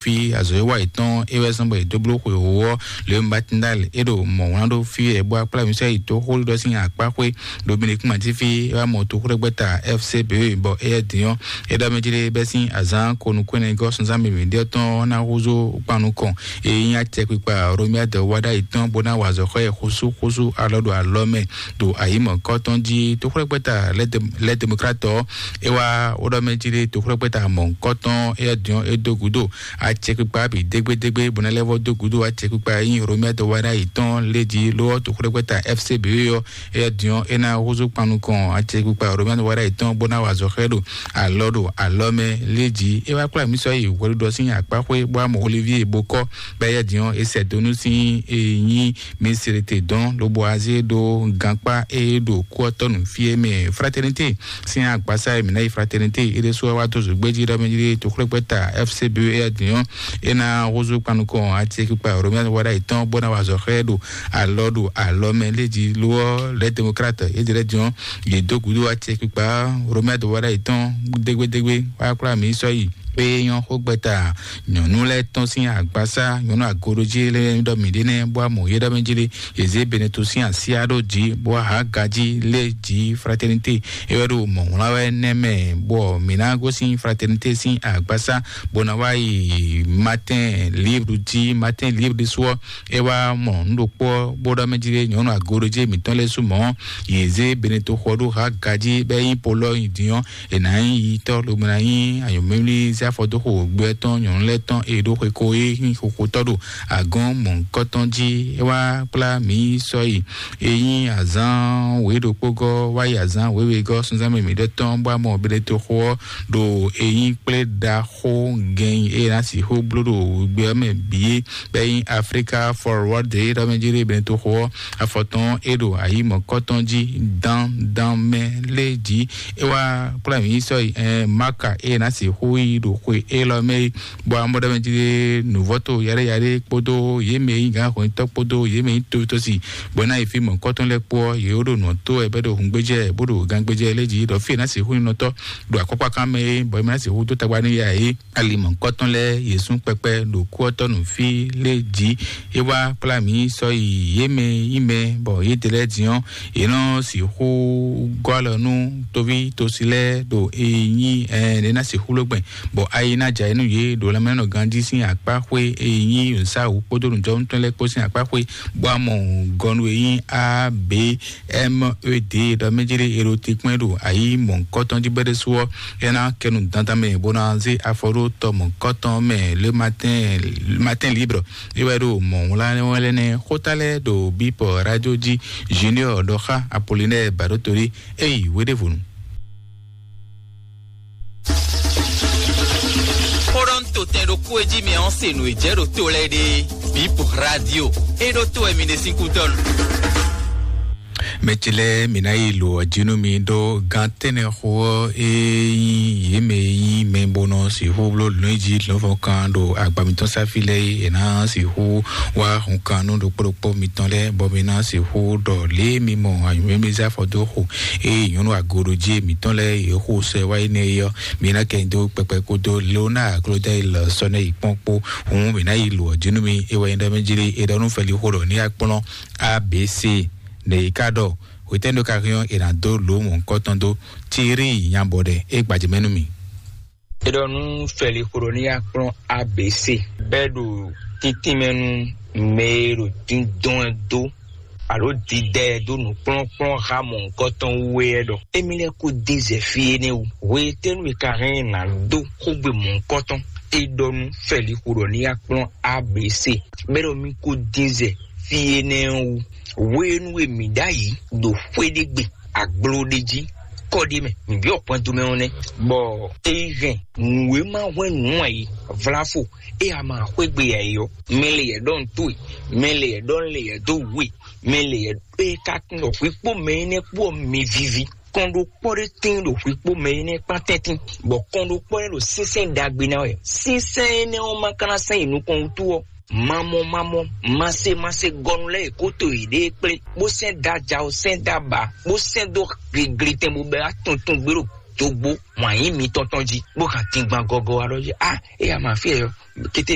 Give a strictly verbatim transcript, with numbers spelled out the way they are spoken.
Fi azɔ̌ e wa yětɔn é wɛ zɔ́n bɔ yě dó bló xweyǐxu ɔ́, Leon Batindal é ɖo mɔ̌ wlán ɖó fí wɛ bó akplá mǐsɛ́ yi tó xó ɖiɖɔ sín akpáxwé ɖo Benin kún matín fí é wá mɔ toxúɖɛgbɛ́ta F C B bɔ éyɛ́ din ɔ́, é ɖɔ mɛ jí ɖé bɛ́ sín azǎn ko nukún ɛnɛ gɔ́ sunzán mǐmí ɖé ɔ́ tɔn ɔ́ ná húzú kpannukɔn e nyí acɛkpikpa Romuald Wadagni tɔn bó ná wa azɔ̌ xɔ ɛ xúsúxúsú alɔ ɖo alɔ mɛ ɖo ayǐmɔ̌kɔ́ tɔn jí. Toxúɖɛgbɛ́ta Les Démocrates ɔ́, é wá wó ɖɔ mɛ jí ɖé toxúɖɛgbɛ́ta mɔ̌hunkɔtɔn éyɛ́ din ɔ́ é dó gǔdo acɛkpikpa bǐ dégbédégbé bó ná lɛ́ vɔ́ dó gǔdo acɛkpikpa e nyí Romuald Wadagni tɔn lé jí ló ɔ́ toxúɖɛgbɛ́ta F C B ɔ́ éyɛ́ din ɔ́ é ná húzú kpan nukɔn acɛkpikpa Romuald Wadagni tɔn bó ná wa azɔ̌ xɛ ɖo alɔ ɖo alɔ mɛ lé jí. É wá kplá mǐ sɔ́ yi hwɛɖuɖɔ sín akpáxwé bó wá mɔ Olivier Bokɔ bɔ éyɛ́ din ɔ́ é sɛ dó nú sín e nyí Misirete dɔn lobo azé ɖo gankpá e ɖo kú ɔ́ tɔnu fí e mɛ Fraternité sín agbasa e mǐ ná yi Fraternité é ɖésú wá dó zǒgbé jí ɖɔ mɛ jí toxúɖɛgbɛ́ta F C B é din ɔ́ é ná húzú kpan nukɔn acɛkpikpa Romuald Wadagni tɔn bó ná wa azɔ̌ xɛ ɖo alɔ ɖo alɔ mɛ lé jí ló ɔ́ Les Démocrates é ɖi lɛ́ din ɔ́ yě dó gǔdo acɛkpikpa Romuald Wadagni tɔn dégbédégbé wá kplá mǐ sɔ́ yi. Pé nyɔ́ xó gbɛta nyɔ̌nu lɛ́ɛ tɔn sín agbasá nyɔ̌nu agoɖojí lɛ́ɛ ɖɔ mǐ ɖe nɛ́ bó amɔ yé ɖɔ mɛ jí ɖe yě zé Beneto sín asyá ɖó jǐ bó há gají lé jǐ Fraternité é wɛ ɖo mɔ̌ wlán wɛ nɛ́ mɛ bɔ mǐ ná gosín Fraternité sín agbasá bó ná wá yi Matin Libre jí. Matin Libre ɖésú ɔ́ é wá mɔ nǔ ɖokpó ɔ́ bó ɖɔ mɛ jí ɖe nyɔ̌nu agoɖojí mǐtɔn lɛ́ɛ sú mɔ̌ yě zé Beneto xɔ ɖó há gají bɔ é nyí Polɔ́ nyi din ɔ́ è nǎ nyí yitɔ́ lobo ná nyí anyǔmímlí zé afɔdóxo gbɛ tɔn nyɔ̌nu lɛ́ɛ tɔn e ɖó xweko e nyí xoxotɔ́ ɖo agɔ̌n mɔ̌hunkɔtɔn jí. É wá kplá mǐ sɔ́ yi e nyí azǎn wěɖokpógɔ́ wá yi azǎn wěwegɔ́ sunzán mɛ mǐɖɔtɔn bó amɔ Beneto xo ɔ́ ɖo e nyí kplé ɖaxó gɛn e ná sixú bló ɖo gbɛ ɔ́ mɛ bǐ é bɔ é nyí Africa Forward ɖé ɖɔ mɛ jí ɖé Beneto xo ɔ́ afɔtɔn é ɖo ayǐ mɔ̌kɔtɔn jí dán dán mɛ lé jí. É wá kplá mǐ sɔ́ yi ɛn Maka e ná sixú yi ɖo xwe élɔ́ mɛ é bɔ amɔɖɔmɛ jí ɖé nǔvɔ́to yaɖéyaɖé kpódó yě mɛ e nyí gǎnhwɛntɔ́ kpódó yě mɛ e nyí towítɔ́si bɔ é ná yi fí mɔ̌kɔtɔn lɛ́ɛ kpó ɔ́, yě wó ɖo nǔ ɔ́ tó wɛ bɔ é ɖo hǔngbéjɛ bó ɖo gangbéjɛ lé jí ɖɔ fí e ná sixú nyí nɔtɔ́ ɖo akɔ́kpákán mɛ é bɔ é má sixú dó tagba n'i ǎ é. Ali mɔ̌kɔtɔn lɛ́ɛ yě sún kpɛkpɛ ɖo kú ɔ́ tɔ́ nǔ fí lé jí. É wá kplá mǐ sɔ́ yi yě mɛ nyí mɛ bɔ yědɛɛ lɛ́ɛ din ɔ́, yě nɔ sixú gɔ́ alɔ nú toví tosi lɛ́ɛ ɖo e nyí ɛɛ ɖě ná sixú ló gbɛn bɔ ayi ná jɛ ayǐ nú yě ɖo lanmɛnɔ ganjí sín akpá xwé e nyí nǔsáwǔ kpódó nǔjɔnútɔn lɛ́ɛ kpó sín akpá xwé bó amɔ gɔnu e nyí a b m e d ɖɔ mɛ jí ɖé e ɖo te kpɔ́n ɖo ayǐ mɔ̌hunkɔtɔn jí bɛ́ ɖésú ɔ́, é ná kɛ nu dandan mɛ bó ná zé afɔ ɖó tɔ mɔ̌hunkɔtɔn mɛ le matin matin libre. É wɛ ɖo mɔ̌ wlá wɛ lɛ́ nɛ́ xóta lɛ́ɛ ɖo bípɔ radio jí. Junior ɖɔ xá Apollinaire Baɖótolí éyi wéɖévonu. Xó ɖɔ un to tɛn ɖokpó e jí mi ɔ́ se nǔ e jɛ ɖo to lɛ́ɛ ɖe. Bípɔ radio é ɖó to wɛ mi ɖe sín kútɔ́nu. Mɛ ce lɛ́ɛ mǐ ná yi lo ɔ́ jí nú mi ɖó gán tɛ́nnɛ xó ɔ́ é nyí yě mɛ e nyí mɛ bó nɔ sixú bló lɔ̌nyijǐ lɔ̌nfɔ́n kan ɖo agba mǐtɔn sáfí lɛ́ɛ é è nǎ sixú wá hun kan nú ɖokpó ɖokpó mitɔn lɛ́ɛ bɔ mi ná sixú ɖɔ lě e mi mɔ anyǔmɛ́mɛ́ zé afɔ dó xo eye nyɔ̌nu agoɖojí mǐtɔn lɛ́ɛ yě xo sɛ wá yi nɛ́ é ɔ́, mi ná kɛ nyi dó kpɛkpɛ kúdó Leonard Claudel sɔ́ nɛ́ yi kpɔ́n kpó. Hǔn mǐ ná yi lo ɔ́ jí nú mi é wɛ nyí ɖɔ mɛ jí lé é ɖɔ nú fɛli xó ɖɔ ní akplɔ́n A B C. Nɛ̌ yi ka ɖɔ hwetɛ́nu ka hɛn ɔ́ è nǎ dó lǒ mɔ̌hunkɔtɔn dó Tiri nyabɔ ɖɛ é gbajɛ mɛ nú mì. É ɖɔ nú fɛli xó ɖɔ ní akplɔ́n A B C bɛ́ ɖo títínmɛ nú mɛ e ɖo díndɔn ɛ dó alo didɛ ɛ dó nǔkplɔ́nkplɔ́n ha mɔ̌hunkɔtɔn wú é ɖɔ émí lɛ́ɛ kó dín zɛ fí énɛ́ wú. Hwetɛ́nu e ka hɛn nǎ dó xógbe mɔ̌hunkɔtɔn é ɖɔ nú fɛli xó ɖɔ ní akplɔ́n A B C bɛ́ ɖɔ mí kó dín zɛ fí énɛ́ ɔ́ wú. Hwenu e mǐ ɖ'ayǐ ɖo xwé ɖé gbe, agbló ɖé jí, kɔ ɖé mɛ, mǐ byɔ́ kpɛn domɛ ɔ́ nɛ́, bɔ é yi hɛn nǔ e ma hwɛ́n nǔ ǎ é, vláfo, é a ma xwé gbe ǎ é ɔ́, mɛ lě yɛ ɖɔ un towe, mɛ lě yɛ ɖɔ un lě yɛ dó wǔ e, mɛ lě yɛ é ka tunwun ɖɔ hwǐkpó mɛ énɛ́ kpó ɔ́ mi víví. Kɔn ɖokpɔ́ ɖé tíin ɖo hwǐkpó mɛ énɛ́ kpán tɛ́ntin, bɔ kɔn ɖokpɔ́ lɛ́ɛ ɖo sínsɛ́n ɖagbe ná wɛ. Sínsɛ́n énɛ́ ɔ́ ma ka ná sɛn yi nukɔn wútu ɔ́, mamɔ mamɔ, masé masé gɔnu lɛ́ɛ e kó to yěɖée kplé, bó sɛ́n dó ajawo, sɛ́n dó aba, bó sɛ́n dó gligli tɛn bó bɛ́ wá tuntun gbé ɖo dó gbó wǎn yí mitɔn tɔn jí, bó kan dingban gɔgɔ wá ɖɔ jí, a é ya ma fí ɛ yɔ, kété